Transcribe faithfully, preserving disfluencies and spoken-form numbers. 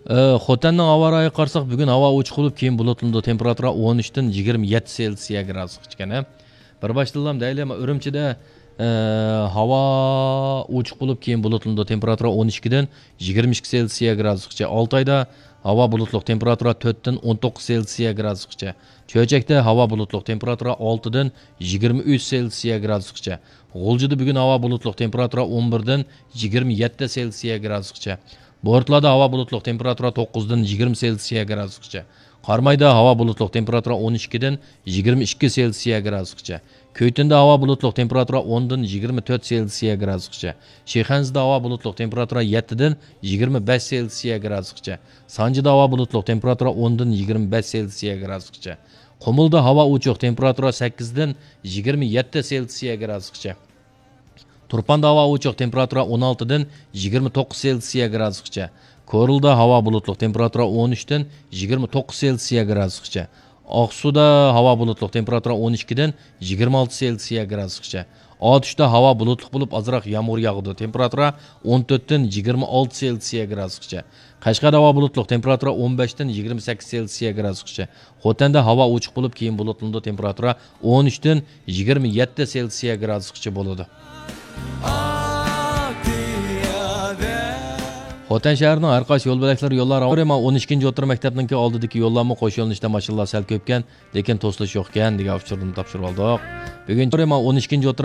ئە، خوتەننىڭ ھاۋا رايىغا قارىساق، بۈگۈن ھاۋا ئوچۇق بولۇپ، كېيىن بۇلۇتلىنىدۇ. تېمپېراتۇرا ئون ئۈچتىن يىگىرمە يەتتە سېلسىيە گرادۇسقىچە ئىكەن، ھە. بىر باشتىنلام دەيلى، ئۈرۈمچىدە، ئە، ھاۋا ئوچۇق بولۇپ، كېيىن بۇلۇتلىنىدۇ. تېمپېراتۇرا ئون ئىككىدىن يىگىرمە ئىككى سېلسىيە گرادۇسقىچە. ئالتايدا ھاۋا بۇلۇتلۇق، تېمپېراتۇرا تۆتتىن ئون توققۇز سېلسىيە گرادۇسقىچە. چۆچەكتە ھاۋا بۇلۇتلۇق، تېمپېراتۇرا ئالتىدىن يىگىرمە ئۈچ سېلسىيە گرادۇسقىچە. غۇلجىدا بۈگۈن ھاۋا بۇلۇتلۇق، تېمپېراتۇرا ئون بىردىن يىگىرمە يەتتە سېلسىيە گرادۇسقىچە. بورتلادا ھاۋا بۇلۇتلۇق، تېمپېراتۇرا توققۇزدىن يىگىرمە سېلسىيە گرادۇسقىچە. قارامايدا ھاۋا بۇلۇتلۇق، تېمپېراتۇرا ئون ئىككىدىن يىگىرمە ئىككى سېلسىيە گرادۇسقىچە. كۈيتۇندا ھاۋا بۇلۇتلۇق، تېمپېراتۇرا ئوندىن يىگىرمە تۆت سېلسىيە گرادۇسقىچە. شىخەنزىدە ھاۋا بۇلۇتلۇق، تېمپېراتۇرا يەتتىدىن يىگىرمە بەش سېلسىيە گرادۇسقىچە. سانجىدا ھاۋا بۇلۇتلۇق، تېمپېراتۇرا ئوندىن يىگىرمە بەش سېلسىيە گرادۇسقىچە. قۇمۇلدا ھاۋا ئوچۇق، تېمپېراتۇرا سەككىزدىن يىگىرمە يەتتە سېلسىيە گرادۇسقىچە. تۇرپاندا ھاۋا ئوچۇق، تېمپېراتۇرا ئون ئالتىدىن يىگىرمە توققۇز سېلسىيە گرادۇسقىچە. كورلىدا ھاۋا بۇلۇتلۇق، تېمپېراتۇرا ئون ئۈچتىن يىگىرمە توققۇز سېلسىيە گرادۇسقىچە. ئاقسۇدا ھاۋا بۇلۇتلۇق، تېمپېراتۇرا ئون ئىككىدىن يىگىرمە ئالتە سېلسىيە گرادۇسقىچە. ئاتۇشتا ھاۋا بۇلۇتلۇق بولۇپ، ئازراق يامغۇر ياغىدۇ، تېمپېراتۇرا ئون تۆتتىن يىگىرمە ئالتە سېلسىيە گرادۇسقىچە. قەشقەردە ھاۋا بۇلۇتلۇق، تېمپېراتۇرا ئون بەشتىن يىگىرمە سەككىز سېلسىيە گرادۇسقىچە. خوتەندە ھاۋا ئوچۇق بولۇپ، كېيىن بۇلۇتلىنىدۇ، تېمپېراتۇرا ئون ئۈچتىن يىگىرمە يەتتە سېلسىيە گرادۇسقىچە بولىدۇ. خوتەن شەھىرىنىڭ ھەر قايسى يول بۆلەكلىرى يوللار ئاۋارە. مانا ئون ئىككىنچى ئوتتۇرا مەكتەپنىڭكى ئالدىدىكى يوللارمۇ قوش يۆنىلىشتە ماشىنىلار سەل كۆپكەن، لېكىن توسۇلۇش يوقكەن دېگەن ئۇچۇردىن تاپشۇرۇپ ئالدۇق. بۈگۈن مانا ئون ئىككىنچى ئوتتۇرا